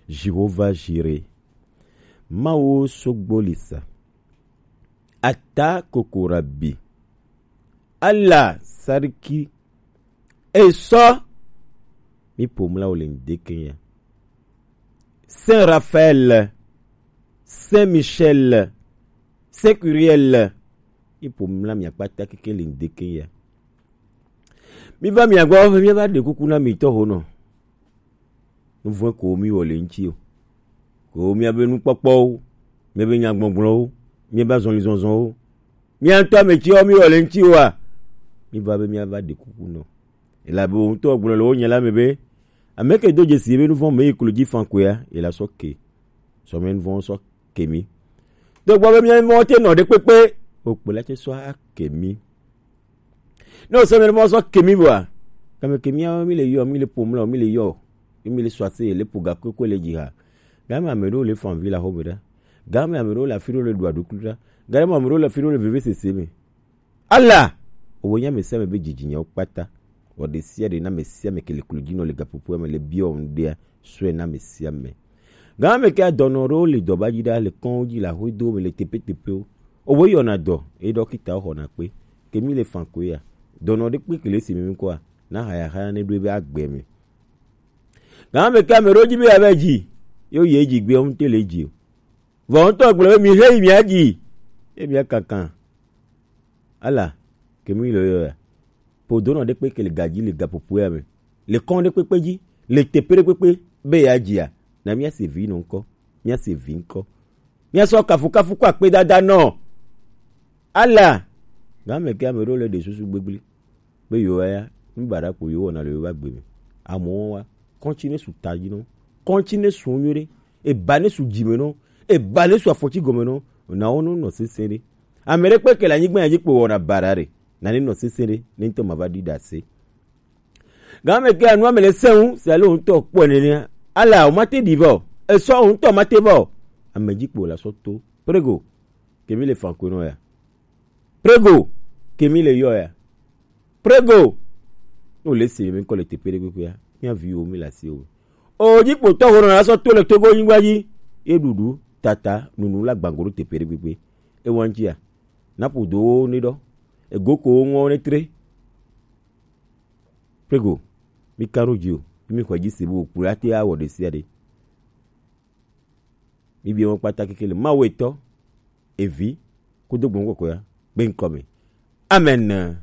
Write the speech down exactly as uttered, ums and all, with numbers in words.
Jehova Jire, Mawu sogbolisa, Ata Kokorabi, Allah Sarki, eso mi pomla wo le ŋdeke ya. Saint Raphaël, Saint Michel, Saint Curiel, mi pomla mi akpata keke le ŋdeke ya. Mi va mi agbo, mi va de kuku na mi to ho no. Nuvɔ̃e ko mi wɔ le ŋuti o. Ko miabe nukpɔkpɔwo, miabe nyagbɔgblɔwo, miabe azɔlizɔzɔwo, mia ŋutɔ ame tsiwo mi wɔ le ŋuti oa, mi va be mia va ɖe kuku nɔ. Elabe wo ŋutɔ gblɔ le wo nya la me be, ame ke do dzesi be nuvɔ̃ me yi klo dzi fan koea, ela sɔ ke. Sɔ me nuvɔ̃ sɔ ke mi. Do gbɔ be mia nuvɔ̃ te nɔ ɖe kpekpe, o kpe la tse sɔ ake mi. Ne o se me mɔ sɔ kemi vɔa, game kemi ya mi le yɔ, mi le pom la, mi le yɔ, mi le sɔ ase le po ga koko le dzi ha. Game ame ɖewo le fan vi le axɔ me ɖa. Game ame ɖewo le afi ɖewo le ɖu aɖukli ɖa. Game ame ɖewo le afi ɖewo le veve sese me. Ala! Owo nya me se me be dzidzi nyawo kpata. Wɔ ɖe sia ɖe na me sia me ke le klo dzi nɔ le gaƒoƒoa me le biɔ ŋɖea, sɔe na me sia me. Game ke adɔnɔ ɖewo le dɔba dzi ɖa le kɔn dzi le axɔedo me le tepetepewo. Owo yɔna dɔ, eye ɖɔkitawo xɔna kpe. Ke mi le fan koe ya. Dɔnɔ ɖe kpe kele si mi kɔa, na haya haya ne ɖo ebe agbe me. Gama me ke ame ɖewo dzi be yeava dzi, ye woyi edzi gbea, wo ŋutɔ le edzi o. Vɔ wo ŋutɔ gblɔ be mi xe yi mia dzi, ye mia kankan. Ala, ke mi le yɔ ya. Ƒo donɔ ɖe kpe ke le ga dzi le gaƒoƒoea me, le kɔn ɖe kpekpe dzi, le teƒe ɖe kpekpe be yeadzia, na míase vi nɔ ŋkɔ, míase vi ŋkɔ. Míasɔ kafukafu kɔ akpedada nɔ. Ala, game ke ame ɖewo le ɖe susu gbegblẽ be yewoa ya, nu baɖa ko yewowɔna le yewoƒe agbe me. Amewo wa, kɔntsi ne su ta dzi nɔ, kɔntsi ne su nyuie ɖe, eba ne su dzime nɔ, eba ne su afɔtsi gɔme nɔ, na wo nɔ nɔ sesẽ ɖe. Ame ɖe kpe ke le anyigba ya dzi kpo wɔna baɖa ɖe, na ne nɔ sesẽ ɖe, ne ŋutɔ ma va ɖi ɖe ase. Game ke anua me le sẽŋu, si ale wo ŋutɔ kpɔe nenea, ala o mate ɖi va o, esɔ o ŋutɔ mate va o. Ame dzi kpo la sɔ to. Prego, ke mi le fan koe nɔ ya. Prego, ke mi le yɔ ya. Prego, ne wòle se mi ŋkɔ le teƒe ɖe kpekpea, mía viwo mi le asiwò me. O dzi kpo tɔ ho nɔ la sɔ to le Togo nyigba dzi, ye ɖuɖu, tata, nunu la gbango ɖo teƒe ɖe kpekpe. Ewa ŋutia, na ƒodowo ne ɖɔ, ego ko wo ŋɔ ne tre. Prego, mi ka ɖo dzi o, mi xɔe dzi se be wòkplɔe ate awɔ ɖe sia ɖe. Mi bia wo kpata keke le Mawu etɔ, evi, kudo gbɔn kɔkɔe ya, gbe ŋkɔ me. Amen.